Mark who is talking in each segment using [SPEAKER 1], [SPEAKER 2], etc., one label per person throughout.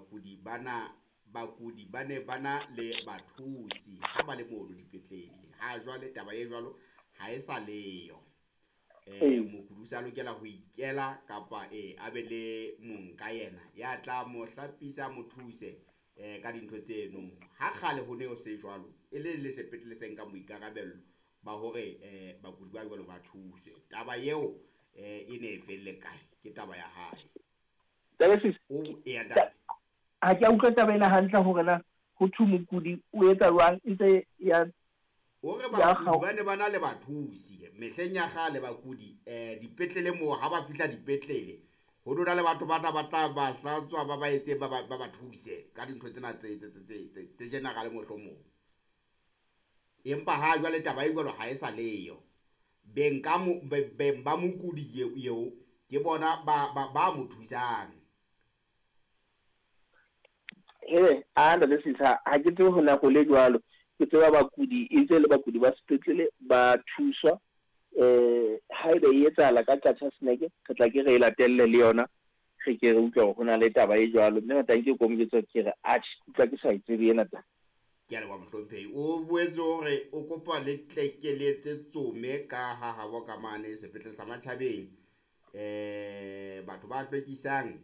[SPEAKER 1] bakudi bana bakudi ba ne ba na le bathusi ha ba le mono dipetlele. Ha jwale taba e jwalo ha e sa leyo. Mokudi o sa lokela ho ikela kapa a be le mong ka yena ya tla mo hlapisa, mo thuse ka dintho tseno. Ha kgale ho ne ho se jwalo, e le le sepetlele se nkang boikarabello ba hore bakudi ba jwalo ba thuswe. Taba eo e ne e felle kae? Ke taba ya hae. O eya ntate.
[SPEAKER 2] Ha ke a utlwa taba ena hantle hore na ho thwe mokudi o etsa jwang e ntse ya
[SPEAKER 1] O re bakudi ba ne ba na le bathusi mehleng ya kgale. Bakudi dipetlele moo, ha ba fihla dipetlele ho dula le batho bana ba tla ba hlatswa, ba ba etse, ba thuse ka dintho tsena tse general mohlomong. Empa ha jwale taba e jwalo ha e sa leyo. Beng ka mo beng ba mokudi eo ke bona ba mo thusang.
[SPEAKER 2] He a ntate Sisa, ha ke tsebe ho nako le jwalo. Ke tseba bakudi e ntse le bakudi ba sepetlele ba thuswa. Haeba e etsahala ka Qacha's Nek, re tla ke re e latelle le yona, re ke re utlwa hore ho na le taba e jwalo. Mme matanke ko mo jwetsa ke re atjhe, utlwa ke sa e tsebe ena taba.
[SPEAKER 1] Ke a leboha mohlomphehi. O boetse hore o kopa le tlekeletse tsome ka ha habo ka mane sepetlele sa Matjhabeng. Batho ba hlwekisang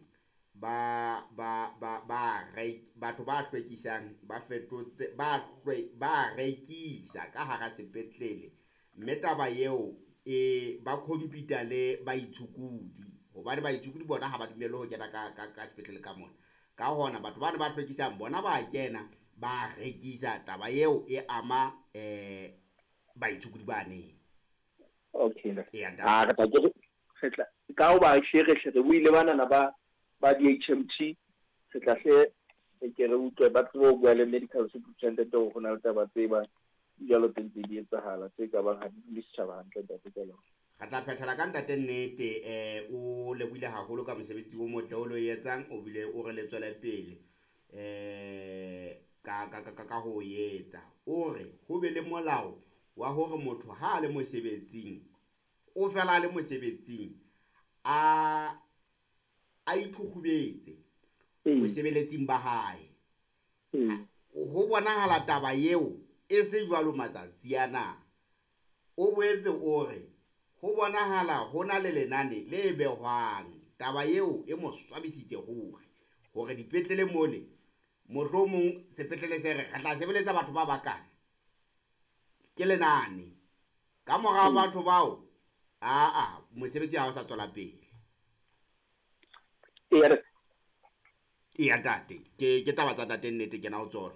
[SPEAKER 1] ba ba ba ba re batho ba hlwekisang ba fetotse ba hlwe ba rekisa ka hara sepetlele, mme taba eo e ba compete le baitshokodi, hobane baitshokodi bona ha ba dumelle ho kena ka sepetlele ka mona. Ka hona batho bana ba hlwekisang bona ba kena ba rekisa. Taba eo e ama baitshokodi ba neng.
[SPEAKER 2] Okay. A re tla ke re tla ka ho ba hle re hle re buile banana ba di-HMT, re tla hle re ke re utlwe ba tsebe ho bua le medical superintendent hore ho na le taba tse bang jwalo tse ntse di etsahala tse ka bang ha di dule setjhaba hantle, ntate ka lona.
[SPEAKER 1] Re tla phethela ka ntate Nnete. O lebohile haholo ka mosebetsi o motle o lo etsang, o bile o re le tswele pele ka ho etsa. O re ho be le molao wa hore motho ha a le mosebetsing, o fela a le mosebetsing, a ithukgubetse bosebeletsing ba hae. Ho bonahala taba eo e se jwalo matsatsi ana. O boetse o re ho bonahala ho na le lenane le behwang. Taba eo e mo swabisitse ruri hore dipetlele mole, mohlomong sepetlele se re re tla sebeletsa batho ba bakana ke lenane, ka mora batho bao aa mosebetsi ha o sa tswela pele. Eya ntate, ke taba tsa ntate Nnete kena ho tsona.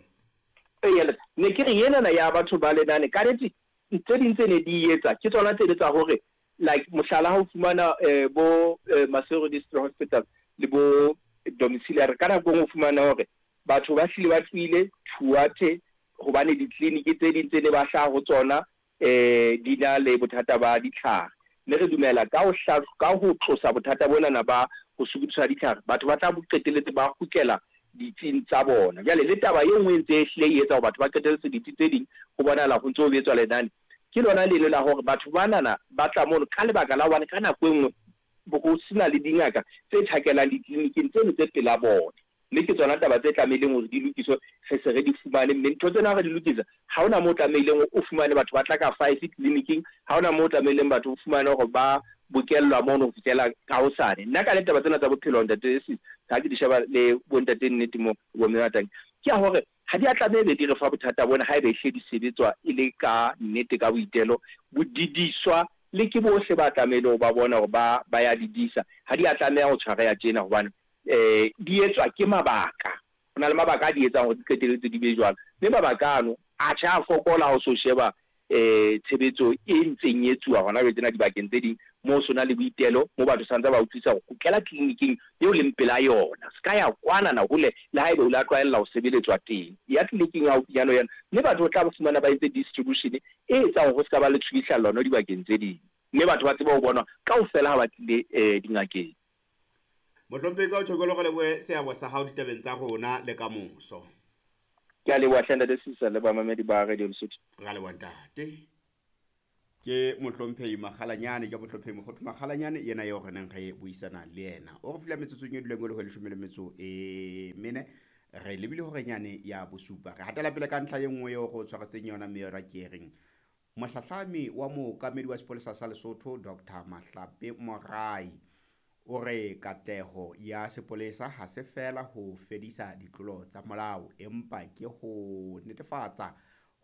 [SPEAKER 2] Eya, ne ke re enana ya batho ba lenane ka nnete tse ding tse ne di etsa ke tsona tse tsa hore like mohlala ha o fumana bo Maseru District Hospital le bo domiciliary, ka nako e nngwe o fumana hore batho ba hlile ba tlohile Thuathe hobane ditleliniki tse ding tse ne ba hlaha ho tsona di na le bothata ba ditlhare. Mme re dumela ka ho ka ho tlosa bothata bonana ba ho sokodiswa ditlhare, batho ba tla qetelletse ba kgutlela ditsing tsa bona. Jwale le taba e nngwe e ntse e hlile e etsa hore batho ba qetelletse ditsi tse ding ho bonahala ho ntso ho etswa lenane, ke lona leno la hore batho banana ba tla mono ka lebaka la hobane ka nako e nngwe ho sena le dingaka tse tjhakelang ditleliniking tseno tse pela bona. Mme ke tsona taba tse tlamehileng hore di lokiswe, re se re di fumane. Mme ntho tsena ha re di lokisa, ha hona moo tlamehileng o fumane batho ba tla ka 5 tleliniking, ha hona moo tlamehileng batho o fumane hore ba bokellwa mono ho fihlela ka hosane. Nna ka le taba tsena tsa bophelo, ntate Sisi, ha ke di sheba le bo ntate Nnete mo bo mme Matangi, ke ya hore ha di a tlameha be di re fa bothata bona haeba ehlile di sebetswa e le ka nnete ka boitelo, bo didiswa le ke bohle ba tlamehile ho ba bona hore ba ya di disa. Ha di a tlameha ho tshwareha tjena hobane di etswa ke mabaka. Ho na le mabaka a di etsang hore di qetelletse di be jwalo. Mme mabaka ano atjhe a fokola ha o so sheba tshebetso e ntseng e etsuwa hona jwale tjena dibakeng tse ding moo so na le boitelo, moo batho santse ba utlwisisa hore kgutlela tleliniking eo leng pela yona. Se ka ya kwana na hole le haeba o la tlwaella ho sebeletswa teng. Ya tleliniking ya haufinyana ho yona, mme batho o tla fumana ba entse distribution e etsang hore ho se ka ba le tshubuhlellano dibakeng tse ding. Mme batho ba tsebe ho bonwa kaofela ha ba tlile dingakeng.
[SPEAKER 1] Mohlomphehi ka o tjhokolo, re lebohe seabo sa hao ditabeng tsa rona le kamoso.
[SPEAKER 2] Ke a leboha hle ntate Sisa le bamamedi ba Radio Lesotho.
[SPEAKER 1] Ra leboha ntate. Ke mohlomphehi Makgalanyane, ke mohlomphehi Mokgothu Makgalanyane yena eo re neng re buisana le yena. O re file metsotsong e duleng e le ho 14, re lebile horenyane ya bosupa. Re hatela pele ka ntlha e nngwe eo re o tshwaretseng yona, mme yona ke e reng mohlahlami wa mookamedi wa sepolesa sa Lesotho Dr. Mahlape Morai o re katleho ya sepolesa ha se feela ho fedisa ditlolo tsa molao, empa ke ho netefatsa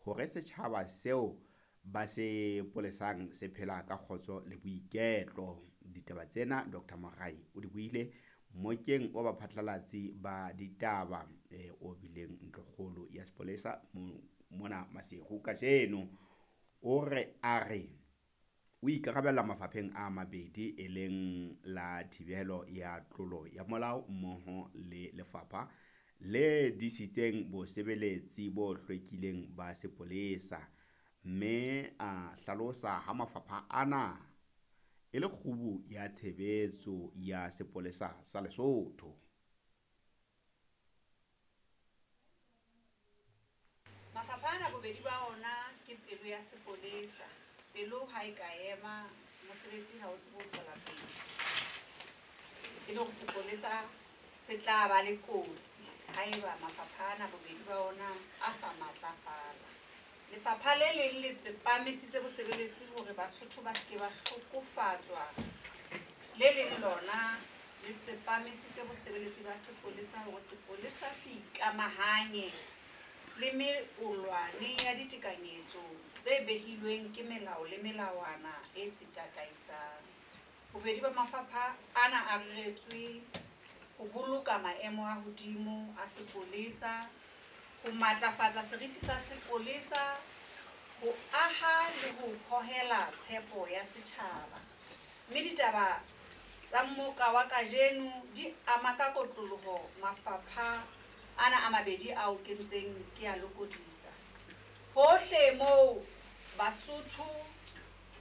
[SPEAKER 1] hore setjhaba seo ba se polesang se phela ka kgotso le boiketlo. Ditaba tsena Dr. Morai o di buile mokeng wa baphatlalatsi ba ditaba o bileng ntlokgolo ya sepolesa mona Maseru kajeno. O re a re o ikarabella mafapheng a mabedi, e leng la thibelo ya tlolo ya molao mmoho le lefapha le disitseng bosebeletsi bo hlwekileng ba sepolesa, mme a hlalosa ha mafapha ana e le kgubu ya tshebetso ya sepolesa sa Lesotho.
[SPEAKER 3] Mafapha ana bobedi ba ona ke pelo ya sepolesa. Pelo ha e ka ema, mosebetsi ha o tsebe ho tswela pele. E le hore sepolesa se tla ba le kotsi haeba mafapha ana bobedi ba ona a sa matlafala. Lefapha le leng le tsepamisitse bosebeletsi hore Basotho ba seke ba hlokofatswa. Le leng lona le tsepamisitse bosebeletsi ba sepolesa hore sepolesa se ikamahanye le meolwane ya ditekanyetso tse behilweng ke melao le melawana e se tataisang. Bobedi ba mafapha ana a reretswe ho boloka maemo a hodimo a sepolesa, ho matlafatsa seriti sa sepolesa, ho aha le ho hohela tshepo ya setjhaba. Mme ditaba tsa mmoka wa kajeno di ama ka kotloloho mafapha ana a mabedi ao ke ntseng ke a lokodisa. Hohle moo Basotho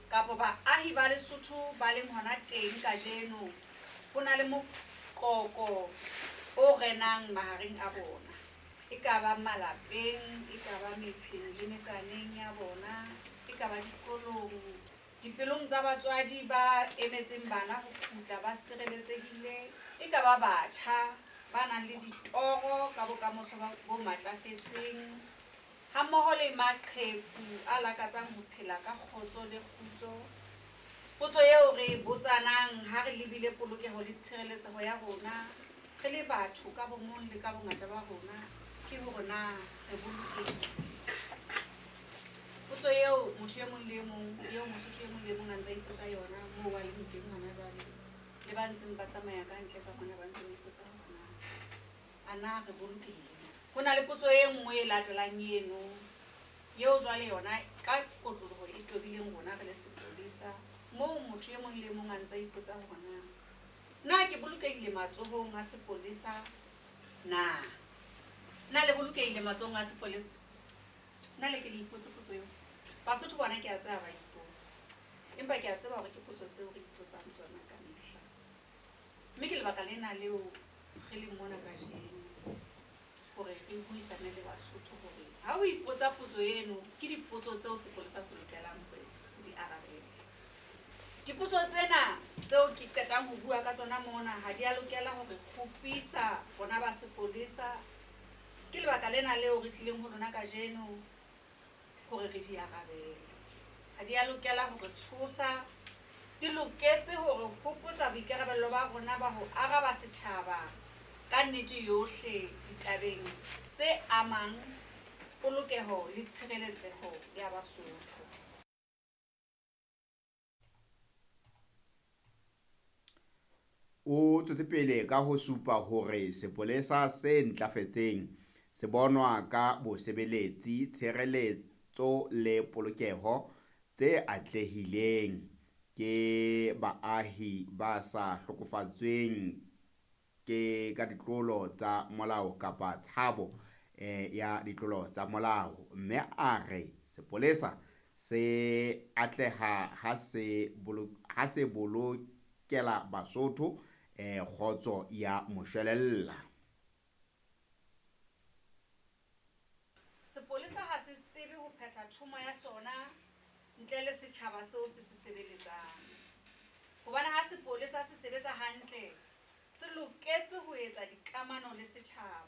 [SPEAKER 3] kapa baahi ba Lesotho ba leng hona teng kajeno, ho na le moqoqo o renang mahareng a bona. E ka ba malapeng, e ka ba metseng le metsaneng ya bona, e ka ba dikolong, dipelong tsa batswadi ba emetseng bana ho kgutla ba sireletsehile, e ka ba batjha ba nang le ditoro ka bokamoso bo matlafetseng, hammoho le maqheku a lakatsang ho phela ka kgotso le kgutso. Potso eo re e botsanang ha re lebile polokeho le tshireletseho ya rona re le batho ka bomong le ka bongata ba rona ke hore na re bolokehile. Potso eo motho e mong le e mong, eo Mosotho e mong le e mong a ntse a ipotsa yona moo a leng teng hona jwale, le ba ntseng ba tsamaya ka ntle ka mona ba ntseng ba ipotsa hore na a na re bolokehile. Ho na le potso e nngwe e latelang eno, eo jwale yona ka kotloloho e tobileng rona re le sepolesa, moo motho e mong le e mong a ntse a ipotsa hore na na ke bolokehile matsohong a sepolesa na? Na le bolokehile matsohong a sepolesa? Na le ke le ipotse potso eo? Basotho bona ke a tseba ba ipotsa, empa ke a tseba hore ke potso tseo re ipotsang tsona ka mehla. Mme ke lebaka lena leo re leng mona kajeno hore re buisane le Basotho hore ha o ipotsa potso eno, ke dipotso tseo sepolesa se lokelang hore se di arabele. Dipotso tsena tseo ke qetang ho bua ka tsona mona ha di a lokela hore kgopisa rona ba sepolesa. Ke lebaka lena leo re tlileng ho lona kajeno hore re di arabele. Ha di a lokela hore tshosa, di loketse hore hopotsa boikarabello ba rona ba ho araba setjhaba ka nnete yohle ditabeng tse amang polokeho le tshireletseho ya Basotho.
[SPEAKER 1] O tswetse pele ka ho supa hore sepolesa se ntlafetseng se bonwa ka bosebeletsi, tshireletso le polokeho tse atlehileng ke baahi ba sa hlokofatsweng ke ka ditlolo tsa molao kapa tshabo ya ditlolo tsa molao. Mme a re sepolesa se atleha ha se bolokela Basotho kgotso ya moshwelella.
[SPEAKER 3] Sepolesa ha se tsebe ho phetha thomo ya sona ntle le setjhaba seo se se sebeletsang. Hobane ha sepolesa se sebetsa hantle, se loketse ho etsa dikamano le setjhaba.